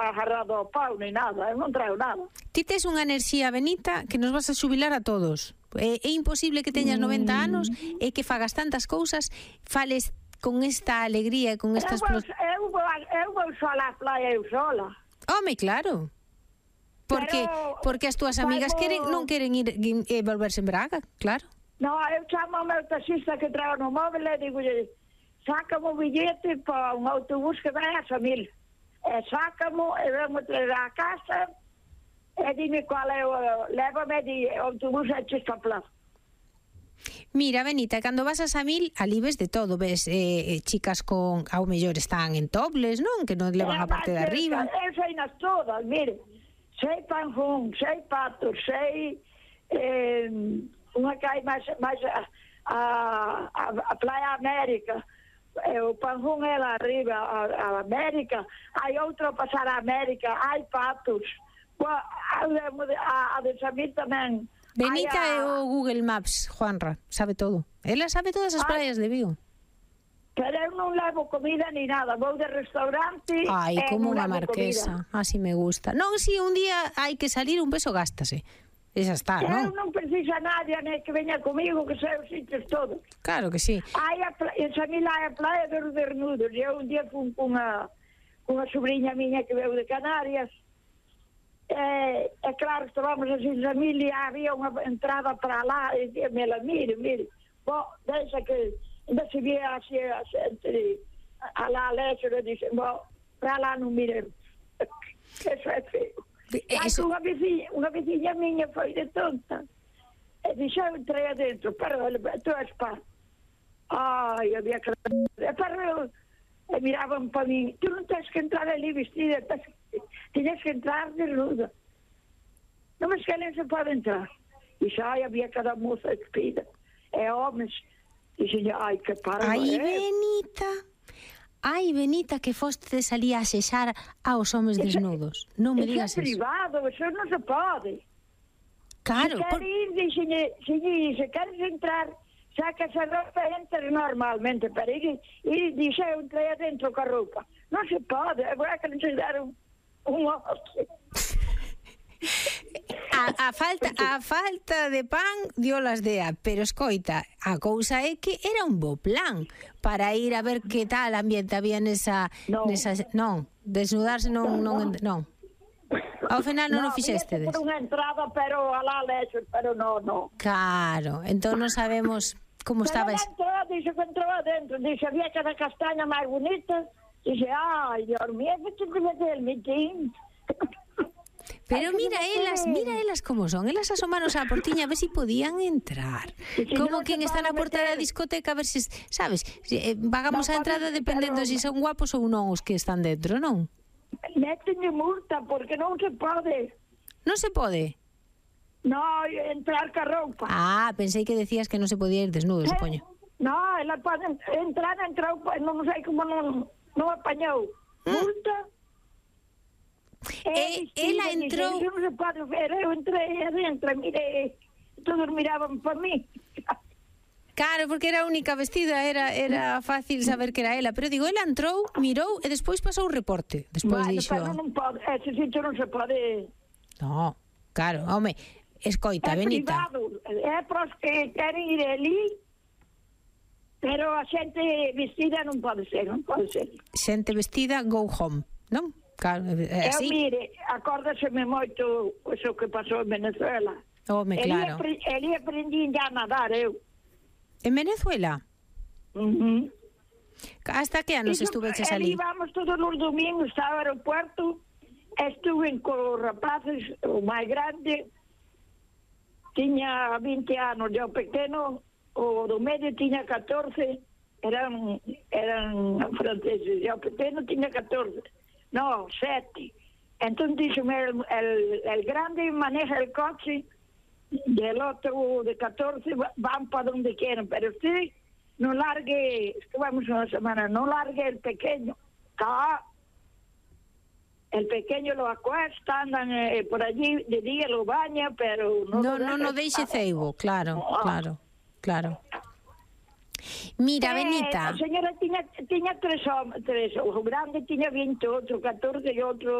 agarrado ao pau, nem nada, eu non traio nada. Ti tes unha enerxía, Benita, que nos vas a xubilar a todos. É imposible que teñas 90 anos e que fagas tantas cousas, fales con esta alegría e con esta explosión. Eu vou sola á playa, eu sola. Home, claro. Porque as túas amigas non queren ir e volverse en Braga, claro. No, eu chamo ao meu taxista que trago no móvil e digolle, sácame o billete para un autobús que vai a Samil. E sácamo, e vamos traer a casa, e dime cual é o... Lévame de autobús a Chistapla. Mira, Benita, cando vas a Samil, ali ves de todo, ves chicas con, ao mellor están en tobles, non? Que non levan a parte de arriba. Eu sei nas todas, mire, sei Panjón, sei Patos, sei unha que hai máis a Playa América, o Panjón é lá arriba, a América, hai outro a pasar a América, hai Patos, a de Samil tamén. Benita é o Google Maps, Juanra, sabe todo. Ela sabe todas as praias de Vigo. Pero eu non levo comida ni nada, vou de restaurante. Ai, como unha marquesa, así me gusta. Non, si un día hai que salir, un peso gástase. E xa está, non? Eu non precisa nadie que veña comigo, que sei os sitios todos. Claro que sí. En Samil hai a playa dos Bernudos. Eu un día fui cunha sobrinha miña que veu de Canarias. É claro, estábamos así en Samil e había unha entrada para lá e dime, mire, deixa que ainda se vía así a xente a lá lexo e dixe, para lá non miremos. Eso é feo. Unha veciña miña foi de tonta e dixe, eu entrei adentro, pero tu és pá. Ai, había que... E miraban para mí, tu non tens que entrar ali vestida, tens que entrar desnuda. Non, mas que nem se pode entrar. Dixe, ai, había cada moça despida. E homens, dixe, ai, que parva. Ai, Benita, que fostes ali a xexar aos homes desnudos. Non me digas eso. Eso é privado, eso non se pode. Claro. Se queres entrar, sacas a roupa e entras normalmente, pero ir dixe, eu entrei adentro con a roupa. Non se pode, agora que non se deron un oso. A falta de pan dio las dea, pero escoita, a cousa é que era un bo plan para ir a ver que tal ambiente había nesa non, desnudarse non. Ao final non o fixestedes. Por unha entrada, pero alá lexo, pero non. Claro, entón non sabemos como estaba. Dixe que entrou adentro, dixe, había cada castaña máis bonita, dixe, ai, Dios mío, que te meter el mitín. Pero mira elas como son. Elas asomaron á portiña a ver se podían entrar. Como quen está na porta da discoteca a ver se, sabes, pagamos a entrada dependendo se son guapos ou non os que están dentro, non? Métenlle multa porque non se pode. Non se pode? No, entrar ca roupa. Ah, pensei que decías que non se podía ir desnudo, supoño. No, ela pode entrar en roupa, non sei como non apañou. Multa. Ela entrou... Non se pode ver, eu entrei adentro, mire, todos miraban para mí. Claro, porque era a única vestida, era fácil saber que era ela, pero digo, ela entrou, mirou e despois pasou o reporte. Despois dixo... Pero non pode, ese sitio non se pode... No, claro, home, escoita, Benita. É privado, é para os que queren ir ali, pero a xente vestida non pode ser. Xente vestida, go home, non? Claro, así. Mire, acórdaseme moito o que pasou en Venezuela. Home, claro. Eli aprendí ya a nadar, eu. En Venezuela? Hasta que anos estuveches ali? Íbamos todos os domingos ao aeropuerto, estuve con rapaces, o máis grande, tiña 20 anos, o pequeno, o do medio tiña 14, eran franceses, o pequeno tiña 14. No, 7. Entonces díxome, el grande maneja el coche y el otro de 14 van para donde quieran, pero usted no largue, estuvimos una semana, no largue el pequeño. El pequeño lo acuesta, andan por allí, de día lo baña, pero no deixe ceibo, claro. Mira, Benita. A señora tiña tres, o grande tiña 20, outro 14 e outro